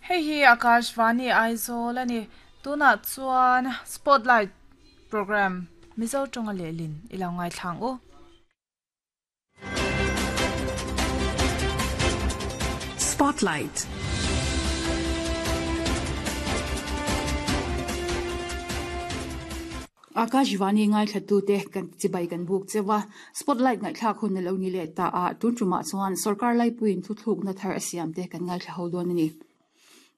Hei hi Akashvani Aizawl a ni. Tunah chuan Spotlight Programme Mizo tawnga lehlin i lo ngaithla ang u. Spotlight. Akashvani ngaithlatute kan chibai kan buk cheu a, Spotlight ngaihthlak hun a lo ni leh ta a, tun tumah chuan sorkar laipuiin thuthlukna thar a siam te kan ngaithla ho dawn a ni.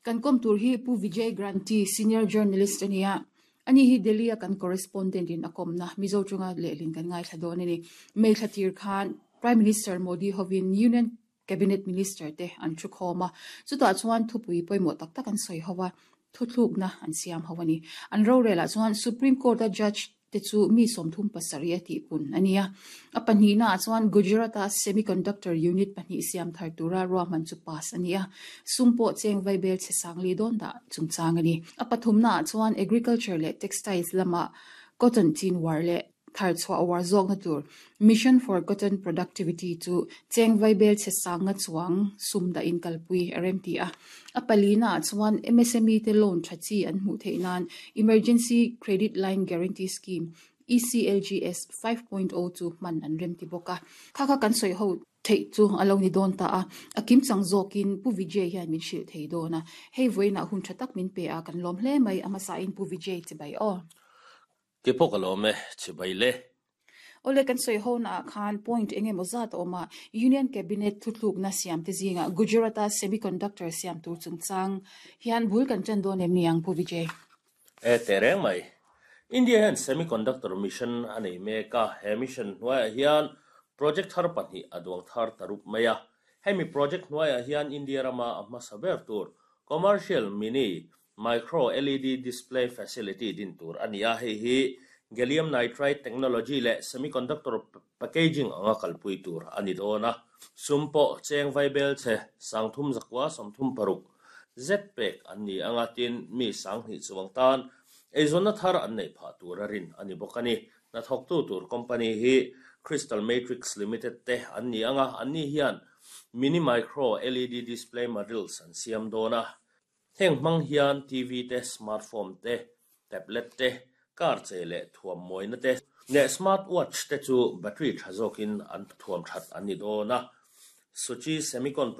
Kan kawm tur hi Pu Vijay Granthi, Senior Journalist a ni a, ani hi Delhi a kan correspondent in a kawmna Mizo chunga lehlin kan ngaithla dawn a ni. May thla tir khan Prime Minister Modi hovin Union Cabinet Minister te an thu khawm a, chutah chuan thupui pawimawh tak tak an sawi ho a, thuthlukna an siam ho a ni. An rorelah chuan Supreme Court-a Judge te chu mi 37 a tihpun a ni a. A pahnihnaah chuan Gujarat-a Semiconductor Unit pahnih siam thar tura ruahman chu pass a ni a, sum pawh cheng vaibel chhe sangli dawn dah chungchang a ni. A pathumnaah chuan Agriculture leh Textiles lama Cotton chin uar leh Thar chhuah uar zawkna tur Mission for Cotton Productivity chu cheng vaibel chhe sanga chuang sum dahin kalpui a rem ti a. A palina ah chuan MSME te loan tha chi an hmuh theih nan Emergency Credit Line Guarantee Scheme, ECLGS, 5.0 chu hman an rem ti bawk a. Kha kha kan sawi ho theih chu a lo ni dawn ta a, a kim chang zawkin Pu Vijay hian min hrilh thei dawn a. Hei vawiinah hun tha tak min pe a, kan lawm hle mai a hmasain Pu Vijay chibai aw. Ke pawh ka lawm e, chibai le. Awle kan sawi ho naah khan point eng emaw zat a awm a, Union Cabinet thutlukna siam te zingah Gujarat-a semiconductor siam tur chungchang hian bul kan ṭan dawn em ni ang Pu Vijay? E teh reng mai. India hian semiconductor mission a nei mek a, he mission hnuaiah hian project thar pahnih a duang thar ta rup mai a. Hemi project hnuaiah hian India rama a hmasa ber tur commercial mini Micro LED Display Facility din tur a ni a, hei hi Gallium Nitride Technology leh Semiconductor Packaging anga kalpui tur a ni dawn a. Sum pawh cheng vaibel chhe 31 36 zet pek an ni anga tin mi 20 chuang tan eizawnna thar an neih phah tur a rin a ni bawk a ni. Hnathawktu tur company hi Crystal Matrix Limited te an ni anga anni hian Mini Micro LED Display Modules an siam dawn a. Heng hmang hian TV te, smartphone te, tablet te, car chei leh thuam mawina te leh smart watch te chu battery tha zawkin an thuam that an ni dawn a. Suchi Semicon.